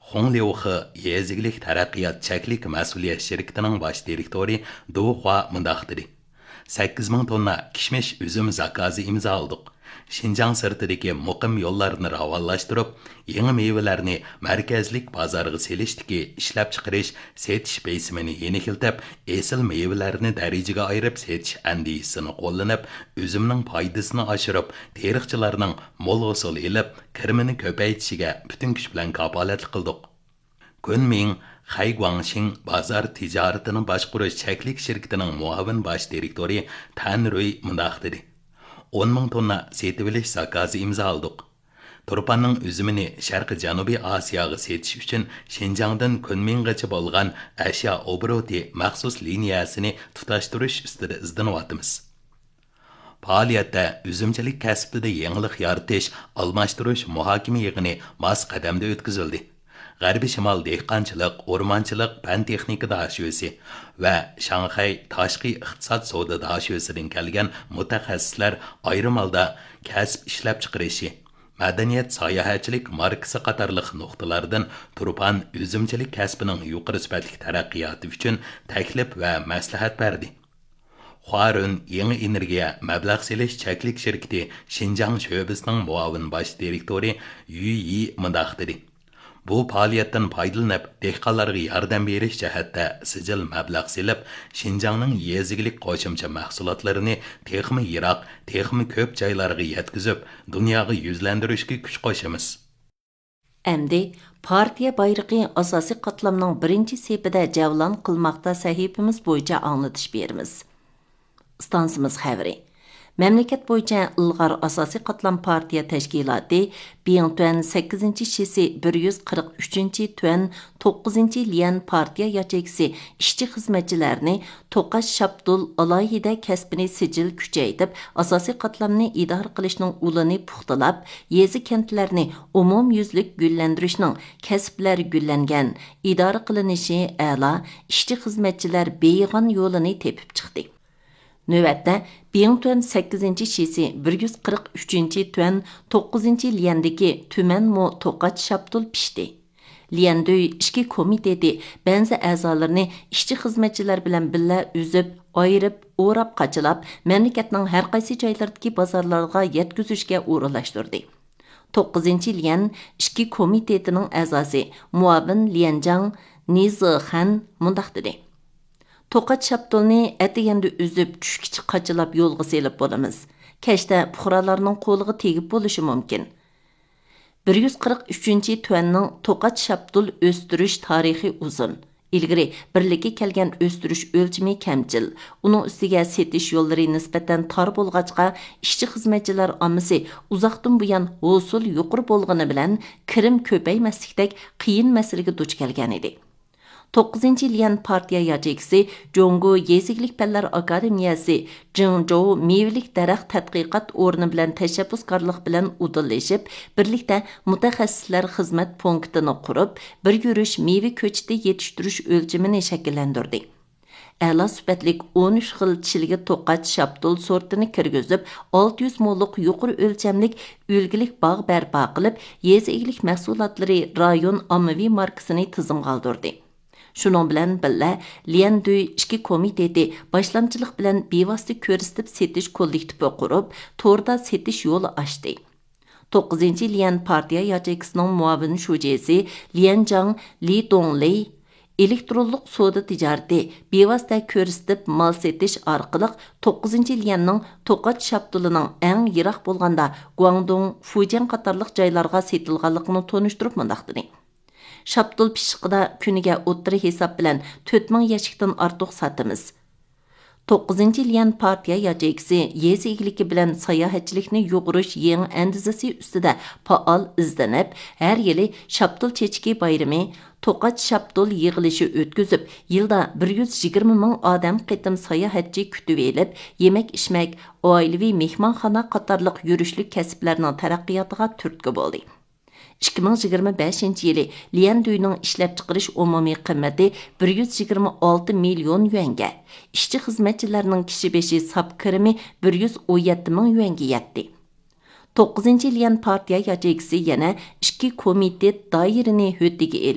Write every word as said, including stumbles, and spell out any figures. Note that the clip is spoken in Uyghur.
خۇڭليۇخې يېزا ئىگىلىك تەرەققىيات چەكلىك مەسئۇلىيەت شىركىتىنىڭ باش دىرېكتورى دۇ خۇا مۇنداق دېدى: سەككىز مىڭ توننا كىشمىش ئۈزۈم زاكازى ئىمزا ئالدۇق. شىنجاڭ سىرتىدىكى مۇقىم يوللارنى راۋانلاشتۇرۇپ، يېڭى مېۋىلەرنى مەركەزلىك بازارغا سېلىشتىكى ئىشلەپچىقىرىش، سېتىش بېسىمىنى يېنىكلىتىپ، ئېسىل مېۋىلەرنى دەرىجىگە ئايرىپ سېتىش ئەندىزىسىنى قوللىنىپ، ئۈزۈمنىڭ پايدىسىنى ئاشۇرۇپ، تېرىقچىلارنىڭ مول ھوسۇل ئېلىپ، كىرىمىنى كۆپەيتىشىگە پۈتۈن كۈچ بىلەن كاپالەتلىك قىلدۇق. كۈنمىڭ خەي گۇاڭشىڭ بازار تىجارىتىنى باشقۇرۇش چەكلىك شىركىتىنىڭ مۇئاۋىن باش دىرېكتورى تەن رۇي مۇنداق دېدى: ئون مىڭ توننا سېتىۋېلىش زاكازى ئىمزا ئالدۇق. تۇرپاننىڭ ئۈزۈمىنى شەرقىي جەنۇبىي ئاسىياغا سېتىش ئۈچۈن شىنجاڭدىن كۈنمىڭغىچە بولغان ئەشيا ئوبوروتى مەخسۇس لىنىيەسىنى تۇتاشتۇرۇش ئۈستىدە ئىزدىنىۋاتىمىز. پائالىيەتتە ئۈزۈمچىلىك كەسپىدە يېڭىلىق يارىتىش، ئالماشتۇرۇش مۇھاكىمە يىغىنى ماس قەدەمدە ئۆتكۈزۈلدى. غەربىي شىمال دېھقانچىلىق، ئورمانچىلىق پەن تېخنىكا داشۆسى ۋە شاڭخەي تاشقى ئىقتىساد سودا داشۆسىدىن كەلگەن مۇتەخەسسىسلەر ئايرىم ھالدا كەسىپ ئىشلەپچىقىرىشى، مەدەنىيەت، ساياھەتچىلىك ماركىسى قاتارلىق نۇقتىلاردىن تۇرپان ئۈزۈمچىلىك كەسپىنىڭ يۇقىرى سۈپەتلىك تەرەققىياتى ئۈچۈن تەكلىپ ۋە مەسلىھەت بەردى. خۇارۈن يېڭى ئېنېرگىيە مەبلەغ سېلىش چەكلىك شىركىتى شىنجاڭ شۆبىسىنىڭ مۇئاۋىن باش دىرېكتورى يۈ يى مۇنداق دېدى: بۇ پائالىيەتتىن پايدىلىنىپ، دېھقانلارغا ياردەم بېرىش جەھەتتە سىجىل مەبلەغ سېلىپ، شىنجاڭنىڭ يېزا ئىگىلىك قوشۇمچە مەھسۇلاتلىرىنى تېخىمۇ يىراق، تېخىمۇ كۆپ جايلارغا يەتكۈزۈپ، دۇنياغا يۈزلەندۈرۈشكە كۈچ قوشىمىز. ئەمدى پارتىيە بايرىقى ئاساسىي قاتلامنىڭ بىرىنچى سېپىدە جەۋلان قىلماقتا سەھىپىمىز بويىچە ئاڭلىتىش بېرىمىز. ئىستانسىمىز خەۋىرى. مەملىكەت بويىچە ئىلغار ئاساسىي قاتلام پارتىيە تەشكىلاتى بىڭتۈەن سەككىزىنچى شىسى بىر يۈز قىرىق ئۈچىنچى تۈەن توققۇزىنچى ليەن پارتىيە ياچېيكىسى ئىشچى خىزمەتچىلەرنى توقاچ شاپتۇل ئالاھىدە كەسپىنى سىجىل كۈچەيتىپ، ئاساسىي قاتلامنى ئىدارە قىلىشنىڭ ئۇلىنى پۇختىلاپ، يېزا كەنتلەرنى ئومۇميۈزلۈك گۈللەندۈرۈشنىڭ كەسىپلەر گۈللەنگەن، ئىدارە قىلىنىشى ئەلا، ئىشچى خىزمەتچىلەر بېيىغان يولىنى تېپىپ چىقتى. نۆۋەتتە، بىڭتۈەن سەككىزىنچى شىسى بىر يۈز قىرىق ئۈچىنچى تۈەن توققۇزىنچى ليەندىكى تۈمەنمۇ توقاچ شاپتۇل پىشتى. ليەندۈي ئىچكى كومىتېتى بەنزى ئەزالىرىنى ئىشچى خىزمەتچىلەر بىلەن بىللە ئۈزۈپ، ئايرىپ، ئوراپ، قاچىلاپ، مەملىكەتنىڭ ھەر قايسى جايلىرىدىكى بازارلارغا يەتكۈزۈشكە ئورۇنلاشتۇردى. توققۇزىنچى ليەن ئىچكى كومىتېتىنىڭ ئەزاسى، مۇئاۋىن ليەنجاڭ نى زېخەن مۇنداق دېدى: توقاچ شاپتۇلنى ئەتىگەندە ئۈزۈپ، چۈشكىچە قاچىلاپ يولغا سېلىپ بولىمىز. كەچتە پۇقرالارنىڭ قولىغا تېگىپ بولۇشى مۇمكىن. بىر يۈز قىرىق ئۈچىنچى تۈەننىڭ توقاچ شاپتۇل ئۆستۈرۈش تارىخى ئۇزۇن. ئىلگىرى بىرلىككە كەلگەن ئۆستۈرۈش ئۆلچىمى كەمچىل. ئۇنىڭ ئۈستىگە سېتىش يوللىرى نىسبەتەن تار بولغاچقا، ئىشچى خىزمەتچىلەر ئاممىسى ئۇزاقتىن بۇيان ھوسۇل يۇقىرى بولغىنى بىلەن كىرىم كۆپەيمەسلىكتەك قىيىن مەسىلىگە دۇچ كەلگەنىدى. توققۇزىنچى ليەن پارتىيە ياچېيكىسى جۇڭگو يېزا ئىگىلىك پەنلەر ئاكادېمىيەسى جىڭجوۋ مېۋىلىك دەرەخ تەتقىقات ئورنى بىلەن تەشەببۇسكارلىق بىلەن ئۇدۇللىشىپ، بىرلىكتە مۇتەخەسسىسلەر خىزمەت پونكىتىنى قۇرۇپ، بىر يۈرۈش مېۋە كۆچىتى يېتىشتۈرۈش ئۆلچىمىنى شەكىللەندۈردى. ئەلا سۈپەتلىك ئون ئۈچ خىل چىلگە توقاچ شاپتۇل سورتىنى كىرگۈزۈپ، ئالتە يۈز موللۇق يۇقىرى ئۆلچەملىك ئۈلگىلىك باغ بەرپا قىلىپ، يېزا ئىگىلىك مەھسۇلاتلىرى رايون ئاممىۋى ماركىسىنى تىزىمغا ئالدۇردى. شۇنىڭ بىلەن بىللە، ليەندۈي ئىچكى كومىتېتى باشلامچىلىق بىلەن بىۋاسىتە كۆرسىتىپ سېتىش كوللېكتىپى قۇرۇپ، توردا سېتىش يولى ئاچتى. توققۇزىنچى ليەن پارتىيە ياچېيكىسىنىڭ مۇئاۋىن شۇجىسى ليەنجاڭ لى دۇڭلى ئېلېكترونلۇق سودا تىجارىتى، بىۋاسىتە كۆرسىتىپ مال سېتىش ئارقىلىق توققۇزىنچى ليەننىڭ توقاچ شاپتۇلىنىڭ ئەڭ يىراق بولغاندا گۇاڭدۇڭ، فۇجيەن قاتارلىق جايلارغا سېتىلغانلىقىنى تونۇشتۇرۇپ مۇنداق دېدى: شاپتۇل پىششىقىدا كۈنىگە ئوتتۇرا ھېساب بىلەن تۆت مىڭ يەشىكتىن ئارتۇق ساتىمىز. توققۇزىنچى ليەن پارتىيە ياچېيكىسى يېزا ئىگىلىكى بىلەن ساياھەتچىلىكنى يۇغۇرۇش يېڭى ئەندىزىسى ئۈستىدە پائال ئىزدىنىپ، ھەر يىلى شاپتۇل چېچىكى بايرىمى، توقاچ شاپتۇل يىغىلىشى ئۆتكۈزۈپ، يىلدا بىر يۈز يىگىرمە مىڭ ئادەم قېتىم ساياھەتچى كۈتۈۋېلىپ، يېمەك-ئىچمەك، ئائىلىۋى مېھمانخانا قاتارلىق يۈرۈشلۈك كەسىپلەرنىڭ تەرەققىياتىغا تۈرتكە بولدى. ئىككى مىڭ يىگىرمە بەشىنچى يىلى ليەندۈينىڭ ئىشلەپچىقىرىش ئومۇمىي قىممىتى بىر يۈز يىگىرمە ئالتە مىليون يۈەنگە، ئىشچى خىزمەتچىلەرنىڭ كىشى بېشى ساپ كىرىمى بىر يۈز ئون يەتتە مىڭ يۈەنگە يەتتى. توققۇزىنچى ليەن پارتىيە ياچېيكىسى يەنە ئىككى كومىتېت دائىرىنى ھۆددىگە ئېلىپ،